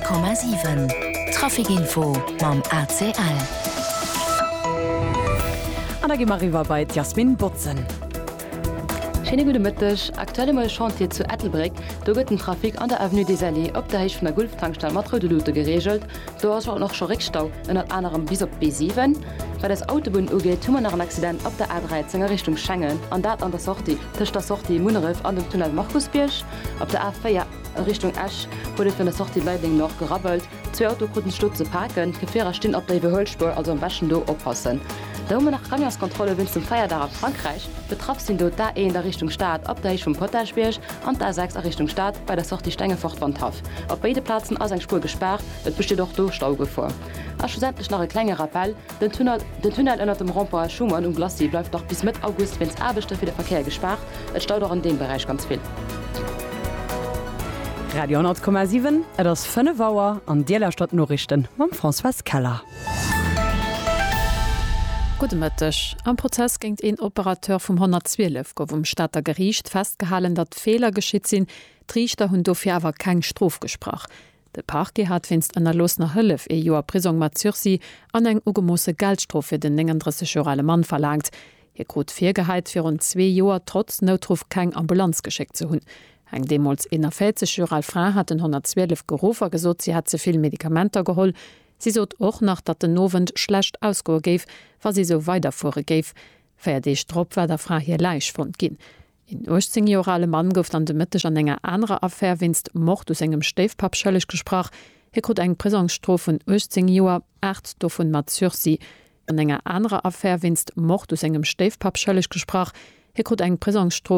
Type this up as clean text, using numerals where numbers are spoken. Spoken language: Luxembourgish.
100,7 Trafic Info mam ACL. An da gi mer eriwwer bei d'Jasmine Botsen. Schéine gudde Mëtteg. Aktuell hu mer e Chantier zu Ettelbréck. Do gëtt den Trafic an der Avenue des Alliés op der Héicht vun der Gulftankstell mat roude Luute gereegelt. Do ass och scho Réckstau, ënnert anerem bis op d'B7. Wat eis Autobunnen ugeet, hu mer nach en Accident op der A13 a Richtung Schengen, an dat an der Sortie tëscht der Sortie Munneref an dem Tunnel Markusbierg. Op der A4 a Richtung Esch huet et virun der Sortie Leideleng Nord gerabbelt. Zwee Autoe kruten sech do ze paken. D'Gefierer stinn op der Iwwerhuelspuer, also am beschten do oppassen. Da hu mer nach Camionskontrolle wéinst dem Feierdag a Frankräich. Betraff sinn do d'A1 a Richtung Stad op der Héicht vum Potaschbierg an d'A6 a Richtung Stad bei der Sortie Stengefort-Wandhaff. Op béide Plazen ass eng Spuer gespaart, et besteet och do Staugefor. A schlussendlech nach e klenge Rappell, Den Tunnel den Tunnel ënnert dem Rond-point Schuman um Glacis bleift nach bis Mëtt August wéinst Aarbechte fir de Verkéier gespaart. Et staut och an deem Beräich ganz vill. Radio 10,7, Et ass 5 Auer an Dir lauschtert d'Noriichten mam Françoise Keller. Gudde Mëtteg. Am Prozess géint een Operateur vum 112 gouf um Stater Geriicht festgehalen, datt Feeler geschitt sinn. D'Riichter hunn dofir awer keng Strof gesprach. De Parquet hat wéinst ënnerloossener Hëllef ee Joer Prisong mat Sursis an eng ugemoosse Geldstrof fir den 39 Joer ale Mann verlaangt. Hie krut virgehäit, virun zwee Joer trotz Noutruff keng Ambulanz geschéckt ze hunn. Eng deemools 41 Joer al Fra hat den 112 geruff a gesot, si hätt ze vill Medikamenter geholl. Si sot och nach, datt den Owend schlecht ausgoe géif, wa si esou weiderfuere géif. Véier Deeg drop war der Fra hir Läich fonnt ginn. Een 18 Joer ale Mann gouf dann de Mëtteg an enger anerer Affär wéinst Mord u sengem Stéifpapp schëlleg gesprach. Hie krut eng Prisongsstrof vun 18 Joer, 8 dovun mat Sursis. An enger anerer Affär wéinst Mord u sengem Stéifpapp schëlleg gesprach. Hie krut eng Prisongsstrof.